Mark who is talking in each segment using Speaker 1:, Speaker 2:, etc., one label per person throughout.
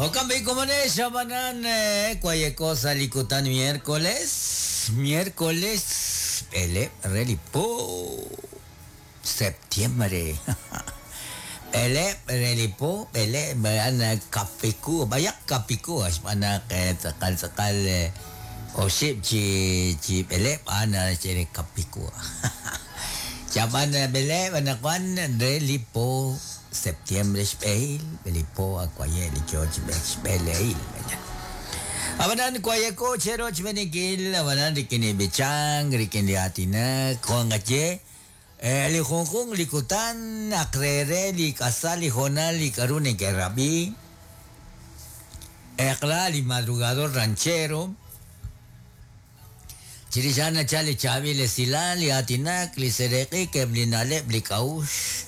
Speaker 1: Jo'kan b'i' komonex ab'anan wayeko sa' li kutan miércoles, miércoles b'eleb' re li po septiembre. B'eleb' re li po, b'eleb' a'an kapiku, b'ayaq kapiku xb'aan naq tz'aqal tz'aqal oxib' chi chi b'eleb' a'an naxye re kapiku. Chab'an b'eleb' anaqwan re li po septiembre xb'ehil li po akwaye' li yo chi b'eek xb'elehil. Ab'anan wayeko che rochb'eeninkil ab'anan rik'in li b'ichank, rik'in li aatinak, jo' nqaye li junjunq li kutan naq re re li k'asal li hoonal li k'a'ru neke'rab'i eq'la li madrugador ranchero, Chirix a'an nachal li chaab'il esilal, li aatinak, li seeraq'ik, eb' li na'leb', li k'a'uxl.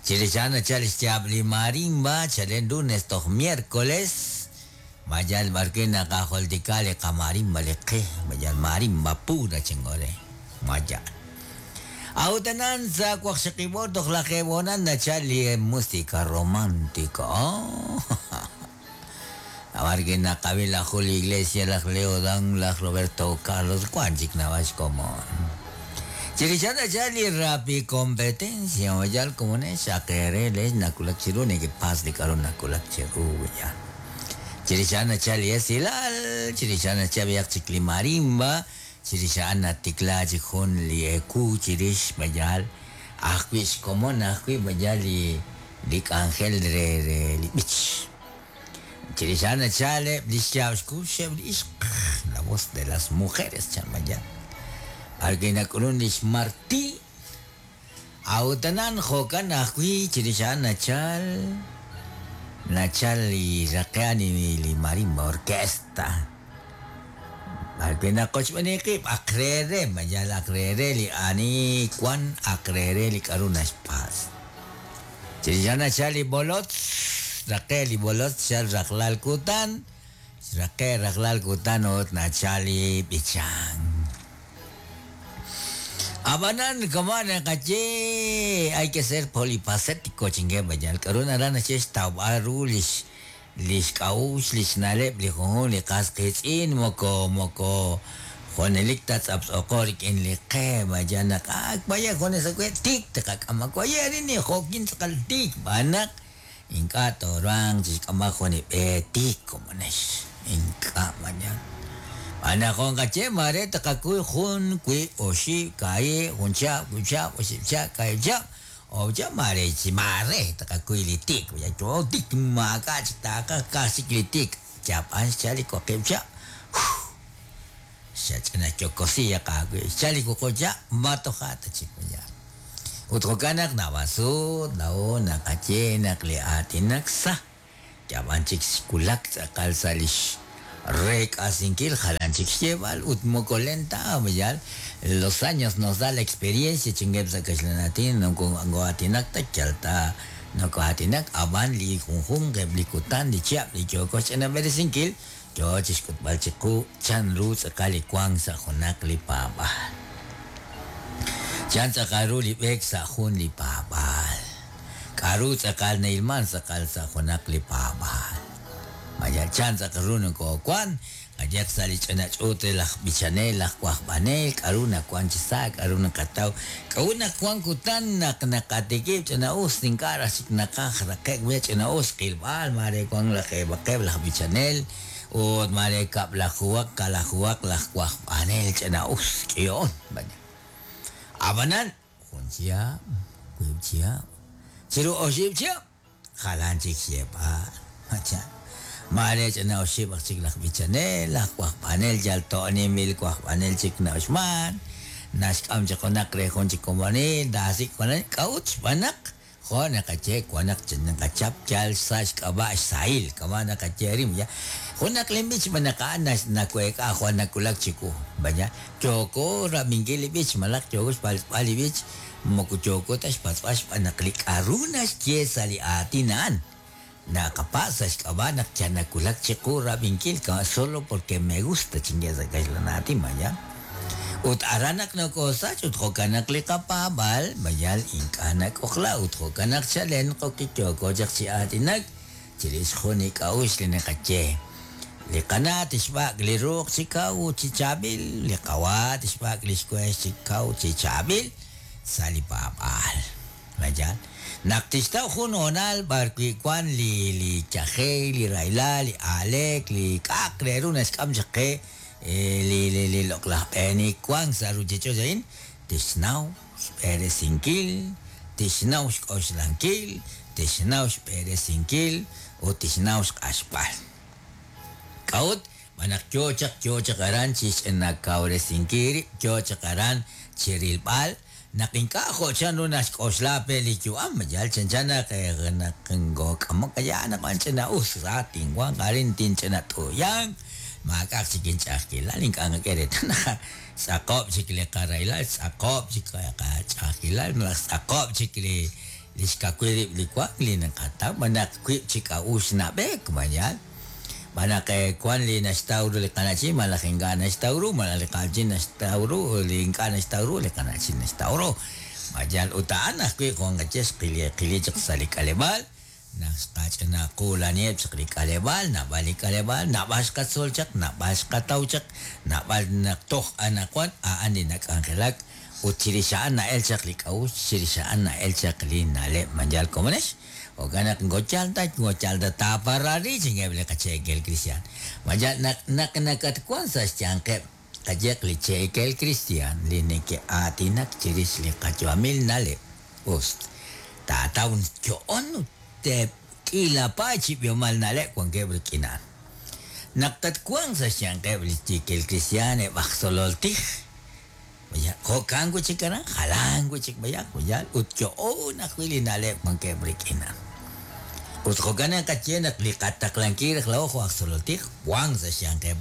Speaker 1: Chirix a'an nachal li xyaab' li marimba, chalen lunes toj miércoles, ma yal b'arwi' naqajultika li qamarimba li qe, ma yal marimba pura chanko re, ma yal. A'ut anan sa' waqxaqib' oor toj lajeeb' hoonal nachal li música romántica. B'arwi' naqab'i laj Julio Iglesias, laj Leo Dan, laj Roberto Carlos, wank chik naab'al xkomon. Chirix a'an nachalk li rapi competencia, yal komonex xaq eere leex nawulak chiru nekepatz' li k'a'ru nawulak cheru yal. Chirix a'an nachalk li esilal, chirix a'an nachalk b'ayaq chik li marimba, chirix a'an natikla chik jun li ewu chirix b'ayal ajwi' xkomon ajwi' b'ayal li li k'anjel re re li b'ich. Chirix a'an nachal eb' li xyaab' xkux eb' li ixq, la voz de las mujeres chan mayab', b'arwi' nak'ulun lix Marti. A'ut anan jo'kan ajwi' chirix a'an nachal nachal li raqe'an li marimba orquesta. B'arwi' naqochb'eeni qib' aq re re, ma yal aq re re li ani wan aq re re li k'a'ru naxpatz'. Chirix a'an nachal li b'olotz, xraqe' li b'olotz xchal rajlal kutan, xraqe' rajlal kutan ut nachal li b'ichank. Ab'anan kama' naqaye hay que ser polifacético chinkeb' yal k'a'ru naraj naxye xtawb'al ru lix Li xk'a'uxl, li xna'leb' li junjunq li qas qiitz'in moko moko junelik ta tz'aptz'ooqo rik'in li qe, mayal naq ak b'ayaq junes awe' tiik tqak'am awaye' arin li jo'kin tz'aqal tiik xb'aan naq ink'a' tooruhanq chi xk'amb'al jun li b'e tiik komonex, ink'a' mayal. Xb'aan naq jo' nqaye maare tqakuy jun, wiib', oxib', kaahib', jun chihab', wiib' chihab', oxib' chihab', kaahib' chihab', Oye, maare chi maare taqakuy li tik, yo tik maak'a' chik taaqaj ka'aj chik li tik, yab'an xchal li waqib' chihab', xach'ina yokosiyaq aawib', xchal li wuqub' chihab', ma toja' ta chik yaal. Ut jo'kan naq naab'al sut laa'o naqaye naq li aatinak sa Yab'an chik xwulak tz'aqal sa' lix reek'asinkil jalan chik xyeeb'al ut moko len ta yal los años nos da la experiencia chinkeb' sa' kaxlan aatin moko ngoo'aatinak ta yal ta noko'aatinak ab'an li junjunq eb' li kutan li chihab' li yooko xch'inab'eresinkil yoo chixk'utb'al chiqu chan ru tz'aqal li wank sa' junaq li paab'aal. Chan tz'aqal ru li b'eek sa' jun li paab'aal. K'a'ru tz'aqal na'ilman tz'aqal sa' junaq li paab'aal? Ma yal chan tz'aqal ru nokowan? Qayehaq sa' li ch'ina ch'uut re laj b'ichanel, laj wajb'anel, k'a'ru nawan chi sa', k'a'ru naqataw? K'a'ut naq wan kutan naq naqatikib' ch'ina-us ink'a' raj chik naqaj raqe'k we ch'ina-us qilb'al, maare wan lajeeb'aqeb' laj b'ichanel ut maare kab'lajuhaq kalajuhaq laj wajb'anel ch'ina-us k'iho'on. Ab'anan, Jun chihab', wiib' chihab', chiru oxib' chihab', jalan chik xyeeb'al. Macha, maare ch'ina oxib' aj chik laj b'ichanel, laj wajb'anel yal to'ninb'il wajb'anel chik na'uxman, naxk'am chaq junaq re jun chik komonil, taasik' junaq, k'a'ut xb'aan naq Jo' naqaye, wan naq naqachap yal sa' xk'ab'a' xsahil, kama' naqaye arin, ya. Junaq lin b'ich xb'aan naq a'an naweek'a jwal nawulak chiwu, vaya. Yooko rab'inkil li b'ich malaj yooko xpatz'b'al li b'ich, moko yooko ta xpatz'b'al xb'aan naq li k'a'ru naxye sa' li aatin a'an, naqapatz' sa' xk'ab'a' naq yal nawulak chiqu rab'inkil, kama' solo porque me gusta chinye sa' kaxlan aatin, vaya. Ut aran naq nokoosach ut jo'kan naq li qapaab'aal mayal ink'a' nak'ojla ut jo'kan naq chalen qokik yooko chaq chi aatinak Chirix jun li k'a'uxl li naqaye. Li qana' tixb'ak' li ruq chi kaw chi chaab'il, li qawa' tixb'ak' li xwex chi kaw chi chaab'il sa' li paab'aal. Vaya. Naq tixtaw jun hoonal b'ar wi' wan li li yajel, li rahilal, li aaleek, li k'a'aq re ru naxk'am chaq qe li li li loq'laj b'eenik wank sa' ruuchich'och' a'in, tixnaw xb'eresinkil, tixnaw xk'oxlankil, tixnaw xb'eresinkil ut tixnaw xq'axb'al. K'a'ut? Xb'aan naq yo chaq yo chaq aran chi xch'inakawresinkil rib', yo chaq aran chi rilb'al naq ink'a' jo' chanru naxk'oxla pe li yu'am, yal chanchan naq naq ngook'amok ya naq wan ch'ina'us sa tinwanq arin tinch'inat'uyanq, maak'a'aq chik inch'a'ajkilal, ink'a' nqak'e reetal naq xtz'aqob' chik li qarahilal, xtz'aqob' chik qach'a'ajkilal, malaj xtz'aqob' chik li li xkawil rib' li wank li naqataw, xb'aan naq wiib' chi k'a'uxl nab'eek, ma yaal? Xb'aan naq wan li naxtaw ru li qana'chin malaj ink'a' naxtaw ru, malaj li qana'chin naxtaw ru li ink'a' naxtaw ru li qana'chin naxtaw ru. Ma yaal? Ut a'an ajwi' jo' nqaye xqil qili chaq sa' li k'aleb'aal, naq xqach'ina quulaniheb' chaq li k'aleb'aal, naab'al li k'aleb'aal, naab'al xqatzol chaq, naab'al xqataw chaq, naab'al naq toj anaqwan a'an li nak'anjelak ut chirix a'an na'el chaq li k'a'uxl, chirix a'an na'el chaq li na'leb'. Ma yaal komonex? Jo'kan naq moko yaal ta, moko yaal ta taaparari chinkeb' li qacheekel kristiaan. Ma yaal naq naq nakatwan sa' xyanqeb' qayehaq li cheekel kristiaan li neke'aatinak chirix li qayu'amil na'leb', us taataw yo'on ut k'iila paay chi b'ihomal na'leb' wankeb' rik'in a'an. Naq tatwanq sa' xyanqeb' li cheekel kristiaan eb' aj tzolol tij, vaya, jo'kan wi' chik aran, jalan wi' chik b'ayaq, vaya, ut yo'on ajwi' li na'leb' wankeb' rik'in a'an. Ut jo'kan naqaye naq li qataqlankil raj laa'o jo' aj tzolol tij wank sa' xyanqeb'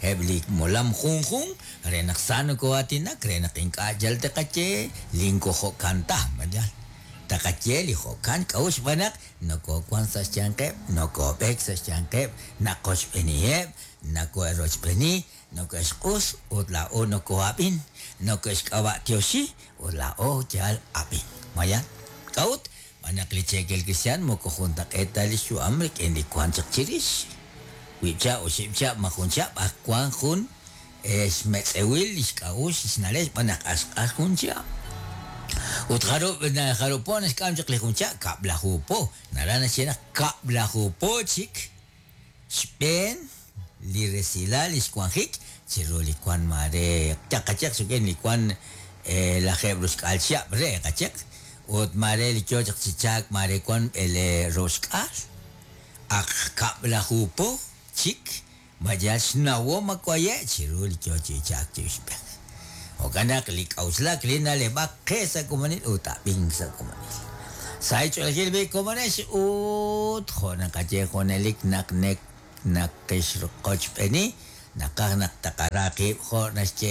Speaker 1: eb' li molam junjunq re naq sa nokoo'aatinak, re naq ink'a' yal taqaye li moko jo'kan ta, vaya. Taqaye li jo'kan k'a'ut xb'aan naq nokoowank sa' xyanqeb', nokoob'eek sa' xyanqeb', naqochb'eeniheb', noko'rochb'eeni, noko'xq'us ut laa'o nokoo'ab'in, noko'xk'ab'a'tioxi ut laa'o yal ab'in. Vaya. K'a'ut? Xb'aan naq li cheekel kristiaan moko juntaq'eet ta li xyu'am rik'in li wank chaq chirix. Wiib' chihab', oxib' chihab', ma jun chihab' ak wank jun xmetz'ewil li xk'a'uxl xna'leb' xb'aan naq ak xq'ax jun chihab'. Ut jarub' jarub' po naxk'am chaq li jun chihab'? Kab'laju po. Naraj naxye naq kab'laju po chik xb'een li resilal li xwanjik chiru li wank maare qayehaq rik'in li wank lajeeb' roxk'aal chihab' re qayehaq ut maare li yo chaq chi chaak maare wank b'ele roxk'aal ak kab'laju po chik ma yal xnawom akwaye' chiru li yo chi chaak chi uxb'ej. Jo'kan naq li k'a'uxlak li na'leb'ak qe sa' komonil ut ab'ink sa' komonil. Sa' xch'oolejil b'i' komonex ut jo' naqaye junelik naq naqixqochb'eeni naqaj naq taqara qib' jo' naxye.